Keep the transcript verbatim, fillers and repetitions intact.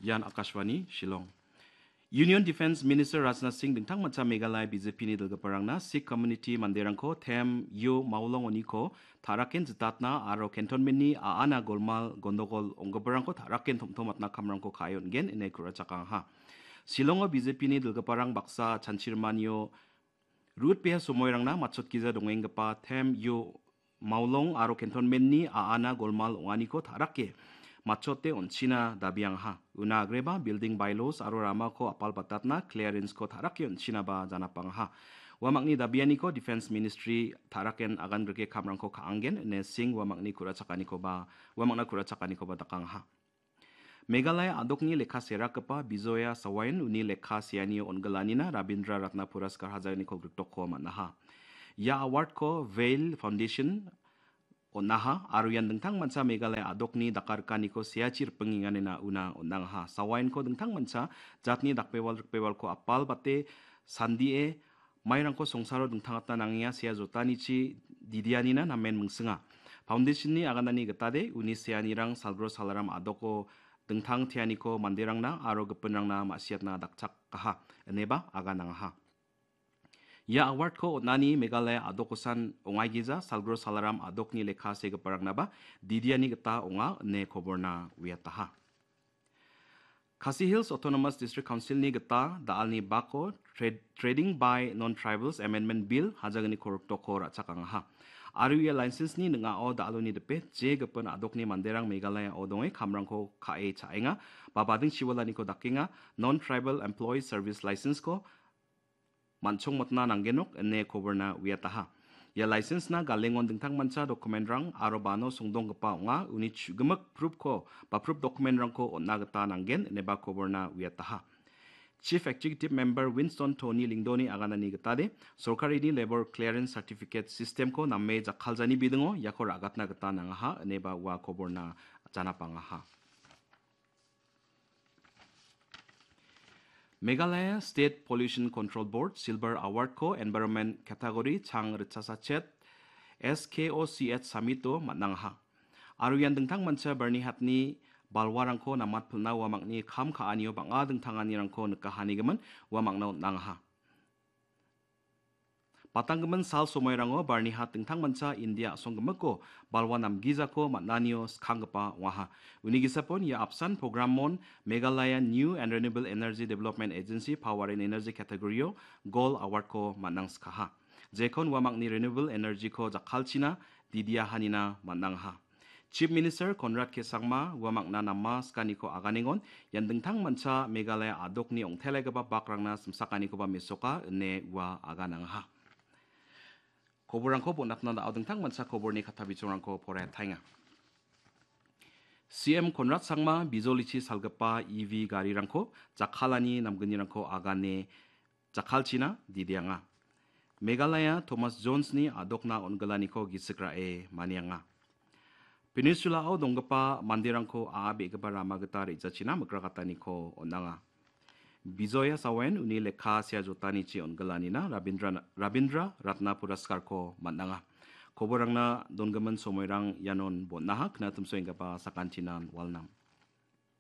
Ian Akashvani Shillong. Union Defence Minister Rajnath Singh dingtangmancha Meghalaya B J P-ni dilgiparangna Sikh community manderangko Them Yo Maolong oniko ta·raken jitatna aro cantonment-ni a·ana golmal gondogol ong·giparangko ta·raken tom·tomatna kamrangko ka·e on·gen ine ku·rachakaha. Shillongo B J P-ni dilgiparang baksa chanchirmanio Rutbea somoirangna matchotgija dongenggipa Them Yo Maolong aro cantonment-ni a·ana golmal ong·aniko ta·rake matchote on·china dabiangaha. Una agreba building bylaws aro ramako apalbatatna clearance-ko ta·rake on·chinaba janapangaha. Uamangni dabianiko Defence Ministry ta·raken agangrike kamrangko ka·angen ine Singh uamangni ku·rachakanikoba, uamangna ku·rachakanikoba dakangaha. Meghalaya a·dokni lekka serakgipa Bijoya Sawayan uni lekka seanio on·gilanina Rabindra Ratna Puraskar hajalni kolgriktokko man·aha. Ia award-ko Vail Foundation on·aha aro ian dingtangmancha Meghalaya a·dokni dakarikaniko seachi ripingenganina una on·angaha. Sawayanko dingtangmancha jatni dakbewal rikbewalko apalbate sandie mairangko songsaro dingtangatna nangenga sea jotanichi didianina namen mingsinga. Foundation-ni aganani gitade uni seanirang Salgro Salaram a·doko dingtang teaniko manderangna aro gipinrangna ma·siatna dakchakaha, ineba aganangaha. Ia award-ko on·ani Meghalaya a·dokosan ongaigija Salgro Salaram a·dokni lekka segiparangna ba didiani gita ong·a ine koborna uiataha. Khasi Hills Autonomous District Council-ni gita da·alni bako Trad-, Trading by Non-Tribals Amendment Bill hajalni kolgriktokko ra·chakangaha. Aro ia license-ni ning·ao da·aloni dipe je gipin a·dokni manderang Meghalaya-o donge kamrangko ka·e cha·enga, ba bading chiwalaniko dakenga, Non-Tribal Employees Service License-ko man·chongmotna nanggenok ine koborna uiataha. Ia license-na galengon dingtangmancha document-rang aro bano songdonggipa ong·a, uni chu·gimik proof-ko ba proof document-rangko on·na gita nanggen ineba koborna uiataha. Chief Executive Member Winston Tony Lyngdoh-ni aganani gitade, sorkarini Labour Clearance Certificate System-ko name jakkaljani bidingo iako ra·gatna gita nangaha ineba ua koborna janapangaha. Meghalaya State Pollution Control Board Silver Award-ko Environment Category chang ritchasachet S K O C H Summit-o man·angaha. Aro ian dingtangmancha Byrnihatni balwarangko namatpilna uamangni kam ka·anio bang·a dingtanganirangko nikahanigimin uamangna on·angaha. Batanggimin sal somairango Byrnihat dingtangmancha India a·songgimiko balwa namgijako man·anio skanggipa ong·aha. Uni gisapon ia apsan programon Meghalaya New and Renewable Energy Development Agency Power and Energy category-o Gold Award-ko man·angskaha. Jekon uamangni renewable energy-ko jakkalchina didiahanina man·angaha. Chief Minister Conrad K Sangma uamangna nama skaniko aganengon, ian dingtangmancha Meghalaya a·dokni ong·telaigipa bakrangna simsakanikoba mesoka ine ua aganangaha. Koborrangko bonatna da·o dingtangmancha koborni katta bichongrangko poraiataenga. C M Conrad Sangma bijolichi salgipa E V garirangko jakkalani namgnirangko agane jakkalchina didianga. Meghalaya Thomas Jones-ni a·dokna on·gilaniko gisik ra·e manianga. Peninsula-o donggipa manderangko a·a be·gipa rama gita re·jachina mikrakataniko on·anga. Bijoya Sawen uni lekka sea jotanichi on·gilanina Rabindra, Rabindra Ratna Puraskarko man·anga. Koborrangna dongimin somoirang ianon bon·aha, knatimsoenggipa sakantinan walnam.